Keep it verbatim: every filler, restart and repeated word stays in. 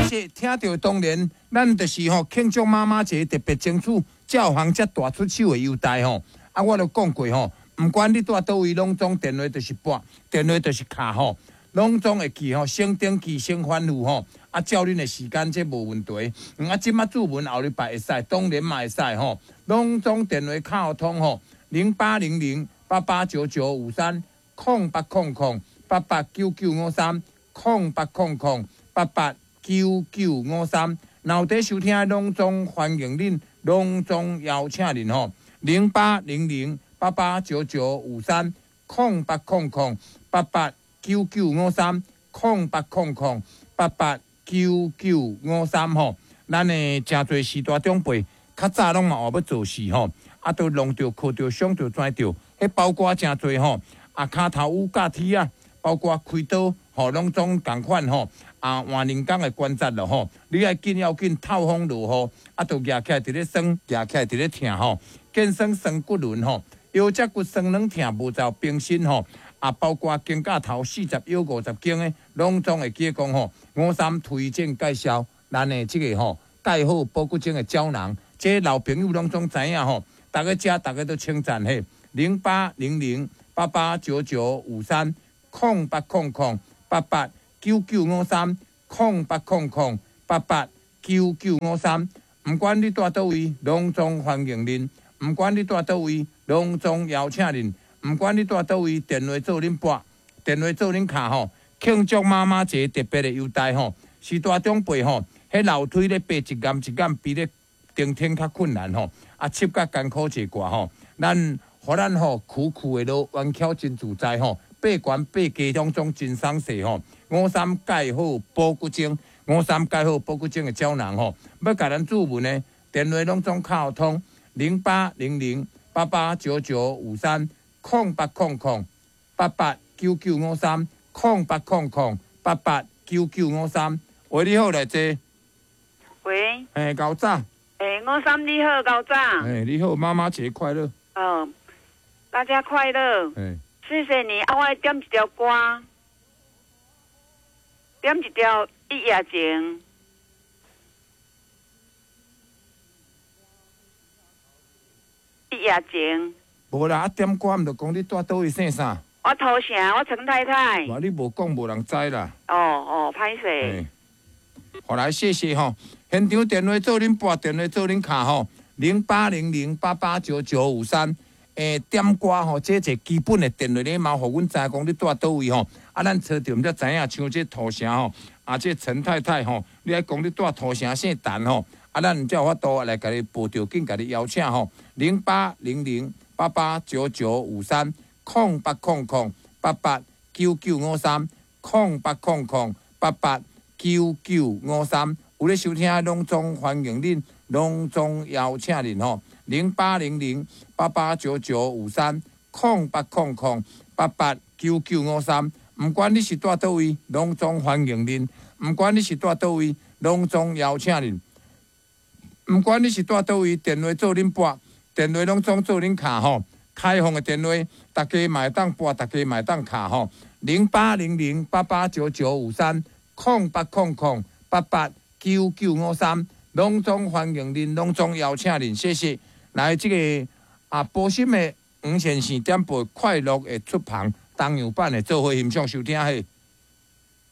謝。聽著當然，咱就是吼慶祝媽媽節特別爭取照行遮大出手的優待吼。啊，我都講過吼，毋管你蹛佗位，攏總電話就是撥，電話就是敲吼，攏總會記吼，先登記先吩咐吼。啊，照恁的時間這無問題。嗯，啊，這馬注文後禮拜會使，當然嘛會使吼，攏總電話敲通吼，零八零零八八九九五三，空八空空八八九九五三，空八空空八八九九五三。若有佇收聽，攏總歡迎恁，攏總邀請恁吼，零八零零八八九九五三，空八空空八八九九五三，空八空空八八九九五三吼。咱的誠濟序大長輩，較早攏嘛學欲做事吼，啊，都弄著、磕著、傷著、跩著，彼包括誠濟吼，啊，跤頭趺架鐵仔，包括開刀吼，攏總仝款吼，啊，換人工的關節咯吼，你愛緊要緊透風落雨，啊，都舉起來佇咧酸，舉起來佇咧疼吼，肩酸酸骨輪吼，腰脊骨酸軟疼無就平身吼，啊，包括肩胛頭四十腰五十肩的，攏總會記得講吼，吳三推薦介紹咱的這個吼，蓋好保骨精的膠囊，這老朋友攏總知影吼，逐家食，逐家都稱讚嘿，零八零零八八九九五三，空八空空八八九九五三，空八空空八八九九五三，毋管你蹛佗位，攏總歡迎恁；毋管你蹛佗位，攏總邀請恁；毋管你蹛佗位，電話做恁撥，電話做恁敲吼。慶祝媽媽節特別的優待吼，序大長輩吼，彼樓梯咧爬一巖一巖，比咧登天較困難吼，啊，插甲艱苦一寡吼，咱予咱吼苦苦的落彎巧真自在吼，爬懸爬低攏總真鬆勢吼。吳三蓋好保骨精，吳三蓋好保骨精的膠囊吼，欲共咱注文的電話攏總敲通零八零零八八九九五三，空八空空八八九九五三，空八空空八八九九五三。喂，你好，來坐。喂。嘿，高早。欸，吳三你好，高早。欸，你好，媽媽節快樂。哦，大家快樂。欸，謝謝你啊！我愛點一條歌，點一條一夜情。一夜情。無啦，啊點歌毋就講你蹛佗位姓啥？我土城，我陳太太。哇，你無講無人知啦。哦哦，歹勢。好來，謝謝吼。現場電話做恁撥，電話做恁敲吼，零八零零八八九九五三。欸，點歌吼，這一個基本的電話禮貌，予阮知講你蹛佗位吼。啊，咱找著毋才知影，像這土城吼，啊，這陳太太吼，你愛講你蹛土城姓陳吼，啊，咱才有法度來共你報著緊，共你邀請吼，零八零零八八九九五三，空八空空八八九九五三，空八空空八八九九五三。有咧收聽，攏總歡迎恁，攏總邀請恁吼，零八零零八八九九五三，空八空空八八九九五三。毋管你是蹛佗位，攏總歡迎恁；毋管你是蹛佗位，攏總邀請恁。毋管你是蹛佗位，電話做恁撥，電話攏總做恁敲吼。開放的電話，大家嘛會當撥，大家嘛會當敲吼。零八零零八八九九五三，空八空空八八九九五三，攏總歡迎恁，攏總邀請恁，謝謝。來，這個啊，波心的黃先生點播《快樂的出旁》東洋版的做伙欣賞收聽嘿。